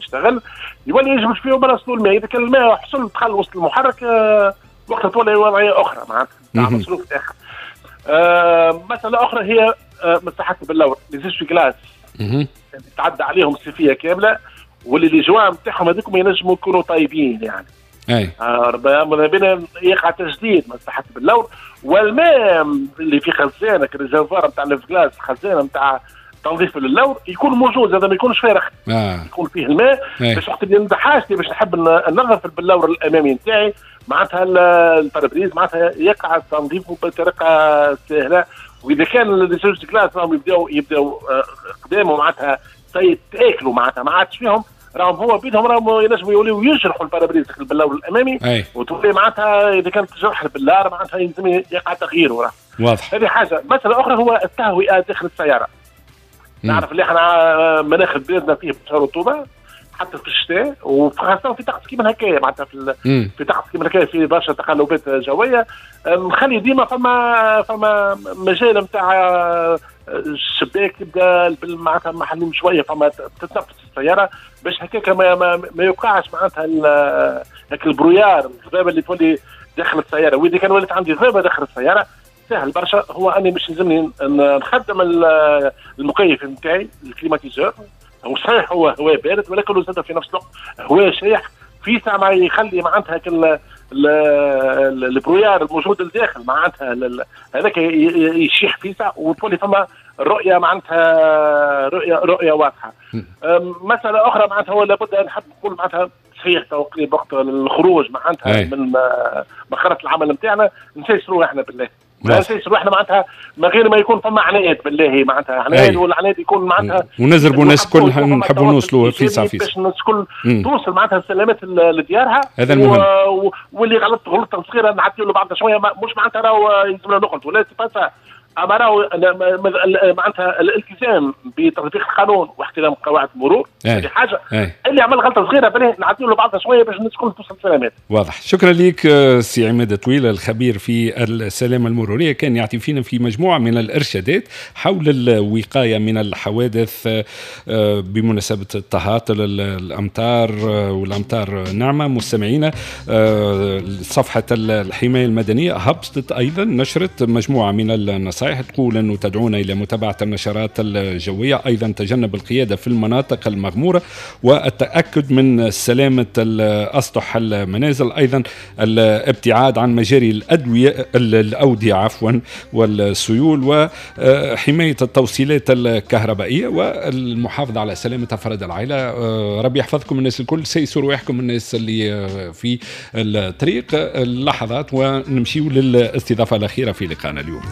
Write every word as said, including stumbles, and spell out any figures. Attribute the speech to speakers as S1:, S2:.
S1: يشتغل يولي يجبد فيه براسلو الماء. اذا كان الماء حصل دخل وسط المحرك آه وقتها تولي وضعية اخرى معناتها مصروف اخر. آه مسالة اخرى هي آه مساحات البلور les essuie-glaces تعدى عليهم الصيفية كاملة، واللي les joints نتاعهم هذوك ينجموا يكونوا طيبين يعني.
S2: اي
S1: آه ماذا بينا يقع تجديد مساحات البلور، والماء اللي في خزانه ال réservoir نتاع ال lave-glace، خزانه نتاع تنظيف اللور يكون موجود، هذا ما يكونش فارغ
S2: آه.
S1: يكون فيه الماء باش وقت اللي حاجتي باش نحب ننظف البلور الامامي نتاعي معناتها ال pare-brise معناتها يقع تنظيفه بطريقة سهلة. واذا كان les essuie-glaces راهم يبداو يبداو قدامه معناتها يتاكلوا معناتها ما عادش فيهم، راهم هو بيدهم راهم ينجموا يوليو يجرحوا ال pare-brise البلور الامامي.
S2: أي.
S1: وتولي معناتها اذا كانت تجرح البلار معناتها يلزم يقع تغييره. راه
S2: واضح.
S1: هذه حاجة. مسالة اخرى هو التهوئه داخل السيارة. مم. نعرف اللي احنا مناخ بلادنا فيه برشا رطوبة حتى في الشتاء، وخاصة في طقس كيما هكايا معناتها في في طقس كيما هكايا في برشا تقلبات جوية، نخلي ديما فما فما مجال نتاع الشباك يبدا معناتها محلول شوية، فما تتنفس السيارة باش هكاك ما, ما, ما يوقعش معناتها هاك ال brouillard الضبابه اللي تولي داخل السيارة. واذا كان ولات عندي ضبابه داخل السيارة سهل برشا، هو اني مش لازمني نخدم المكيف نتاعي ال climatiseur. هو صحيح هو هواء بارد، ولكن زاد في نفس الوقت هواء شايح في ساعة ما يخلي معناتها كل ال brouillard الموجود الداخل معناتها هذاك يشيح في ساعة، وتولي فما الرؤية معناتها رؤية رؤية واضحة. مسالة اخرى معناتها هو لابد نحب نقول معناتها صحيح تقريبا وقت الخروج معناتها من مخرة العمل نتاعنا نسيسروا احنا بالله، نسيسروا احنا معناتها من غير ما يكون فما عناد بالله معناتها عناد، والعناد يكون معناتها
S2: ونزربوا الناس الكل نحبوا نوصلوا في ساعة
S1: باش الناس الكل توصل معناتها السلامات لديارها.
S2: هذا المهم.
S1: و... واللي غلط غلطه صغيرة نعدي له بعض شوية، مش معناتها راهو يلزمنا نغلط ولا c'est اما راهو معناتها الالتزام بتطبيق القانون واحترام قواعد المرور هذه حاجة. أي. اللي عمل غلطه صغيرة بالله نعدي له بعضها شوية باش الناس الكل توصل سلامات.
S2: واضح. شكرا لك سي عماد طويل الخبير في السلامة المرورية، كان يعطي فينا في مجموعة من الارشادات حول الوقاية من الحوادث بمناسبة التهاطل الامطار، والامطار نعمه. مستمعينا صفحة الحماية المدنية هبطت ايضا نشرت مجموعة من النصائح تقول أنه تدعونا إلى متابعة النشرات الجوية، أيضا تجنب القيادة في المناطق المغمورة والتأكد من سلامة أسطح المنازل، أيضا الابتعاد عن مجاري الأدوية الأودية عفوا والسيول، وحماية التوصيلات الكهربائية والمحافظة على سلامة أفراد العائلة. ربي يحفظكم الناس الكل، سيسوا رواحكم الناس اللي في الطريق. اللحظات ونمشيو للاستضافة الأخيرة في لقاءنا اليوم.